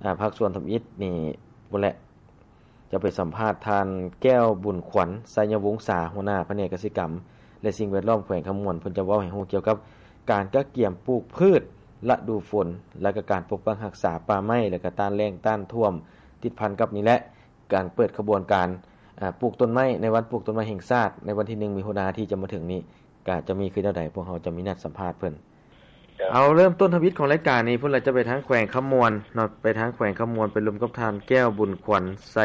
ອາ ພາກສ່ວນທຳອິດນີ້ພຸ້ນແຫຼະ ຈະໄປສຳພາດທ່ານ ແກ້ວບຸນຂວັນ ໄຊຍະວົງສາ ຫົວໜ້າພະແນກກະສິກຳ ແລະ ສິ່ງແວດລ້ອມແຂວງຄຳມ່ວນ ເພິ່ນຈະເວົ້າໃຫ້ຮູ້ກ່ຽວກັບການກະກຽມປູກພືດລະດູຝົນ ແລະ ກະການປົກປັກຮັກສາປ່າໄມ້ ແລະ ກະຕ້ານແລ້ງຕ້ານຖ້ວມ ຕິດພັນກັບນີ້ແຫຼະ ການເປີດຂະບວນການ ອາ ປູກຕົ້ນໄມ້ ໃນວັນປູກຕົ້ນໄມ້ແຫ່ງຊາດ ໃນວັນທີໜຶ່ງ ມິຖຸນາ ທີ່ຈະມາເຖິງນີ້ ກະຈະມີຄືແນວໃດ ພວກເຮົາຈະມີນັດສຳພາດເພິ່ນ. ເອົາ ເລີ່ມຕົ້ນທຳອິດຂອງລາຍການນີ້ ພຸ້ນລະ ຈະໄປທາງແຂວງຄຳມ່ວນເນາະ ໄປທາງແຂວງຄຳມ່ວນ ໄປລົມກັບທ່ານ ແກ້ວບຸນຂວັນ ໄຊ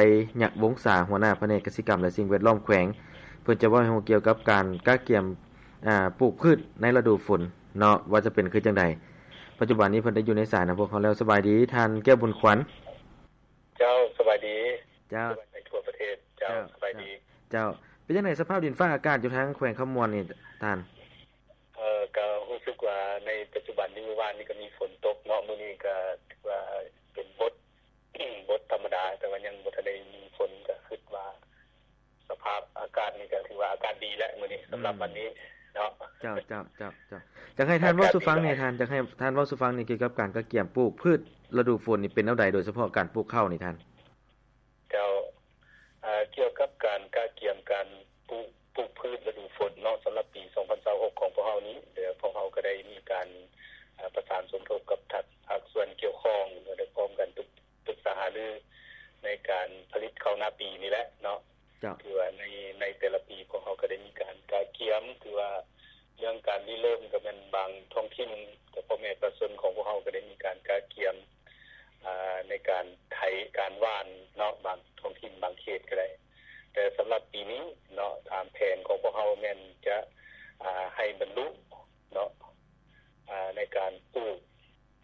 ຍະວົງສາ ຫົວໜ້າພະແນກກະສິກຳ ແລະ ສິ່ງແວດລ້ອມແຂວງ ເພິ່ນຈະເວົ້າໃຫ້ຮູ້ກ່ຽວກັບການກະກຽມ ອາ ປູກພືດໃນລະດູຝົນເນາະ ວ່າຈະເປັນຄືຈັ່ງໃດ. ປັດຈຸບັນນີ້ເພິ່ນໄດ້ຢູ່ໃນສາຍນຳພວກເຮົາແລ້ວ. ສະບາຍດີທ່ານ ແກ້ວບຸນຂວັນ. ເຈົ້າ ສະບາຍດີ. ເຈົ້າ ສະບາຍດີທົ່ວປະເທດ. ເຈົ້າ ເຈົ້າ ສະບາຍດີ. ເຈົ້າ ເປັນຈັ່ງໃດສະພາບດິນຟ້າອາກາດຢູ່ທາງແຂວງຄຳມ່ວນນີ້ທ່ານ? ເອີ ກໍຮູ້ສຶກວ່າໃນປັດຈຸບັນນີ້ ມື້ວານນີ້ກໍມີຝົນຕົກເນາະ ມື້ນີ້ກໍຖືວ່າເປັນບົດ ບົດທຳມະດາ ແຕ່ວ່າຍັງບໍ່ທັນໄດ້ມີຝົນ ກໍຄິດວ່າສະພາບອາກາດນີ້ກໍຖືວ່າອາກາດດີແຫຼະມື້ນີ້ ສຳລັບ ອືມ ວັນນີ້ເນາະ. ເຈົ້າ ເຈົ້າ ເຈົ້າ ເຈົ້າ ຢາກໃຫ້ທ່ານເວົ້າສູ່ຟັງແດ່ທ່ານ ຢາກໃຫ້ທ່ານເວົ້າສູ່ຟັງນີ້ ກ່ຽວກັບການກະກຽມປູກພືດລະດູຝົນນີ້ເປັນແນວໃດ ໂດຍສະເພາະການປູກເຂົ້ານີ້ທ່ານ? ເຈົ້າ ເອີ ກ່ຽວກັບການກະກຽມການປູກ ປູກພືດລະດູຝົນເນາະ ສຳລັບປີສອງພັນຊາວຫົກຂອງພວກເຮົານີ້ ແລະ ພວກເຮົາກໍໄດ້ມີການ ເອີ ປະສານສົມທົບກັບພາກ ພາກສ່ວນກ່ຽວຂ້ອງ ແລະ ໄດ້ພ້ອມກັນປຶກ ປຶກສາຫາລືໃນການຜະລິດເຂົ້ານາປີນີ້ແຫຼະເນາະ. ເຈົ້າ ຖືວ່າໃນ ໃນແຕ່ລະປີພວກເຮົາກໍໄດ້ມີການກະກຽມ ຖືວ່າເລື່ອງການລິເລີ່ມກໍແມ່ນບາງທ້ອງຖິ່ນ ແຕ່ພໍ່ແມ່ປະຊາຊົນຂອງພວກເຮົາກໍໄດ້ມີການກະກຽມ ອາ ໃນການໄຖ ການຫວ່ານເນາະ ບາງທ້ອງຖິ່ນບາງເຂດກໍໄດ້ ແຕ່ສຳລັບປີນີ້ເນາະ ຕາມແຜນຂອງພວກເຮົາແມ່ນຈະ ອາ ໃຫ້ບັນລຸເນາະ ອາ ໃນການປູກ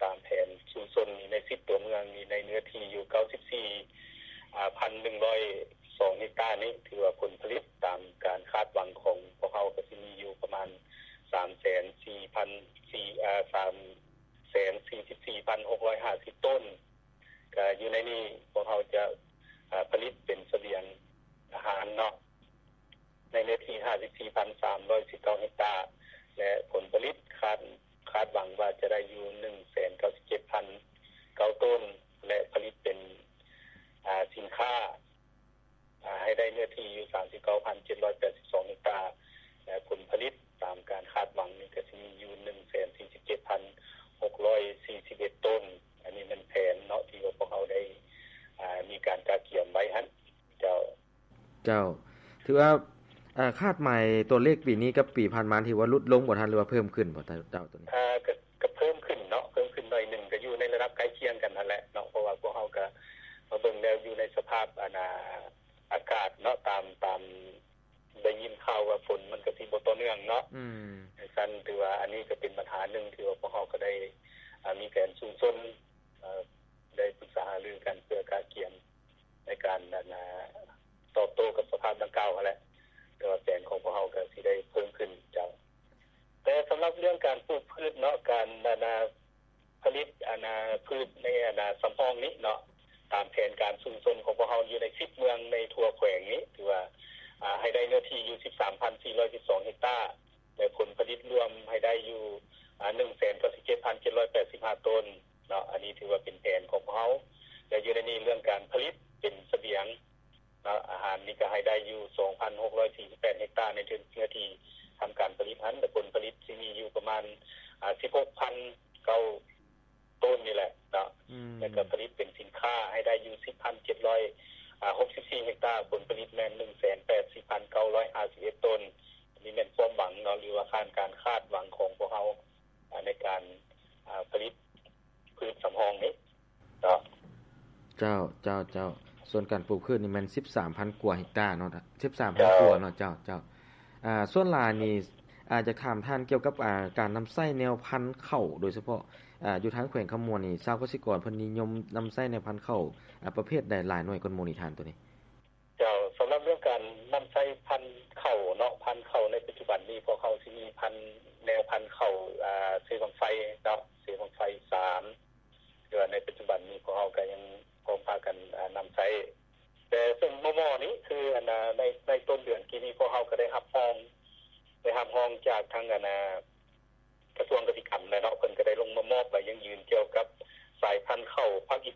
ຕາມແຜນຊຸມຊົນໃນສິບຕົວເມືອງນີ້ ໃນເນື້ອທີ່ຢູ່ເກົ້າສິບສີ່ ອາ ພັນໜຶ່ງຮ້ອຍສອງເຮັກຕານີ້ ຖືວ່າຜົນຜະລິດຕາມການຄາດຫວັງຂອງພວກເຮົາກໍຊິມີຢູ່ປະມານສາມແສນສີ່ພັນ ອາ ສາມ ແສນສີ່ສິບສີ່ພັນຫົກຮ້ອຍຫ້າສິບຕົ້ນ ກະຢູ່ໃນນີ້ພວກເຮົາຈະ ອາ ຜະລິດເປັນສະບຽງອາຫານເນາະ ໃນເນື້ອທີ່ຫ້າສິບສີ່ພັນສາມຮ້ອຍສິບເກົ້າເຮັກຕາ ແລະ ຜົນຜະລິດຄາດ ຄາດຫວັງວ່າຈະໄດ້ຢູ່ໜຶ່ງແສນເກົ້າສິບເຈັດພັນເກົ້າຕົ້ນ ແລະ ຜະລິດເປັນ ອາ ສິນຄ້າ ອາ ໃຫ້ໄດ້ເນື້ອທີ່ຢູ່ສາມສິບເກົ້າພັນເຈັດຮ້ອຍແປດສິບສອງເຮັກຕາ ແລະ ຜົນຜະລິດຕາມການຄາດຫວັງນີ້ກະຊິມີຢູ່ໜຶ່ງແສນສີ່ສິບເຈັດພັນຫົກຮ້ອຍສີ່ສິບເອັດຕົ້ນ. ອັນນີ້ແມ່ນແຜນເນາະ ທີ່ວ່າພວກເຮົາໄດ້ ອາ ມີການກະກຽມໄວ້ຫັ້ນ. ເຈົ້າ ເຈົ້າ ຖືວ່າ ອາ ຄາດໝາຍຕົວເລກປີນີ້ກັບປີຜ່ານມາ ຖືວ່າຫຼຸດລົງບໍ່ທ່ານ ຫຼືວ່າເພີ່ມຂຶ້ນບໍ່ ເຈົ້າ ໂຕນີ້? ອາ ກະ ກະເພີ່ມຂຶ້ນເນາະ ເພີ່ມຂຶ້ນໜ້ອຍໜຶ່ງ ກະຢູ່ໃນລະດັບໃກ້ຄຽງກັນຫັ້ນແຫຼະເນາະ ເພາະວ່າພວກເຮົາກະມາເບິ່ງແລ້ວຢູ່ໃນສະພາບ ອັນ ອາ ອາກາດເນາະ ຕາມ ຕາມໄດ້ຍິນຂ່າວວ່າຝົນມັນກະຊິບໍ່ຕໍ່ເນື່ອງເນາະ ອືມ ຈັ່ງຊັ້ນຖືວ່າອັນນີ້ກະເປັນບັນຫາໜຶ່ງ ທີ່ວ່າພວກເຮົາກະໄດ້ ອາ ມີແຜນຊຸມຊົນ ອາ ໄດ້ປຶກສາຫາລືກັນເພື່ອກະກຽມໃນການ ອັນ ອາ ຕອບໂຕ້ກັບສະພາບດັ່ງກ່າວຫັ້ນແຫຼະ ແຕ່ວ່າແຜນຂອງພວກເຮົາກະຊິໄດ້ເພີ່ມຂຶ້ນ ເຈົ້າ. ແຕ່ສຳລັບເລື່ອງການປູກພືດເນາະ ການ ອັນ ອາ ຜະລິດ ອັນ ອາ ພືດໃນ ອັນ ອາ ສຳຮອງນີ້ເນາະ ຕາມແຜນການຊຸມຊົນຂອງພວກເຮົາຢູ່ໃນສິບເມືອງໃນທົ່ວແຂວງນີ້ ຖືວ່າ ອາ ໃຫ້ໄດ້ເນື້ອທີ່ຢູ່ສິບສາມພັນສີ່ຮ້ອຍສິບສອງເຮັກຕາ ແລະ ຜົນຜະລິດລວມໃຫ້ໄດ້ຢູ່ ອາ ໜຶ່ງແສນເກົ້າສິບເຈັດພັນເຈັດຮ້ອຍແປດສິບຫ້າຕົ້ນເນາະ ອັນນີ້ຖືວ່າເປັນແຜນຂອງພວກເຮົາ ແລະ ຢູ່ໃນນີ້ເລື່ອງການຜະລິດເປັນສະບຽງ ເນາະ ອາຫານນີ້ກະໃຫ້ໄດ້ຢູ່ສອງພັນຫົກຮ້ອຍສີ່ສິບແປດເຮັກຕາ ໃນເນື້ອທີ່ທຳການຜະລິດຫັ້ນ ແລະ ຜົນຜະລິດຊິມີຢູ່ປະມານ ອາ ສິບຫົກພັນເກົ້າຕົ້ນນີ້ແຫຼະເນາະ ອືມ ແລະກະຜະລິດເປັນສິນຄ້າໃຫ້ໄດ້ຢູ່ສິບພັນເຈັດຮ້ອຍຫົກສິບສີ່ເຮັກຕາ ຜົນຜະລິດແມ່ນໜຶ່ງແສນແປດສິບພັນເກົ້າຮ້ອຍຫ້າສິບເອັດຕົ້ນ. ອັນນີ້ແມ່ນຄວາມຫວັງເນາະ ຫຼືວ່າຄາດ ການຄາດຫວັງຂອງພວກເຮົາ ອາ ໃນການ ອາ ຜະລິດພືດສຳຮອງນີ້ເນາະ. ເຈົ້າ ເຈົ້າ ເຈົ້າ ສ່ວນການປູກພືດນີ້ແມ່ນສິບສາມພັນກວ່າເຮັກຕາເນາະ ສິບສາມພັນກວ່າເນາະ. ເຈົ້າ ເຈົ້າ ອາ ສ່ວນຫຼາຍນີ້ ອາ ຢາກຖາມທ່ານກ່ຽວກັບ ອາ ການນຳໃຊ້ແນວພັນເຂົ້າ ໂດຍສະເພາະ ອາ ຢູ່ທາງແຂວງຄຳມ່ວນນີ້ ຊາວກະສິກອນເພິ່ນນິຍົມນຳໃຊ້ແນວພັນເຂົ້າ ອາ ປະເພດໃດຫຼາຍໜ່ວຍກວ່າໝູ່ນີ້ທ່ານ ໂຕນີ້? ເຈົ້າ ສຳລັບເລື່ອງການນຳໃຊ້ພັນເຂົ້າເນາະ ພັນເຂົ້າໃນປັດຈຸບັນນີ້ ພວກເຮົາຊິມີພັນ ແນວພັນເຂົ້າ ອາ ເຊບັ້ງໄຟເນາະ ເຊບັ້ງໄຟສາມ ແຕ່ວ່າໃນປັດຈຸບັນນີ້ພວກເຮົາກະຍັງພ້ອມພາກັນ ອາ ນຳໃຊ້ ແຕ່ເຊິ່ງໝໍ້ໆນີ້ຄື ອັນ ອາ ໃນ ໃນຕົ້ນເດືອນກີ້ນີ້ ພວກເຮົາກະໄດ້ຮັບຮອງ ໄດ້ຮັບຮອງຈາກທາງ ອັນ ອາ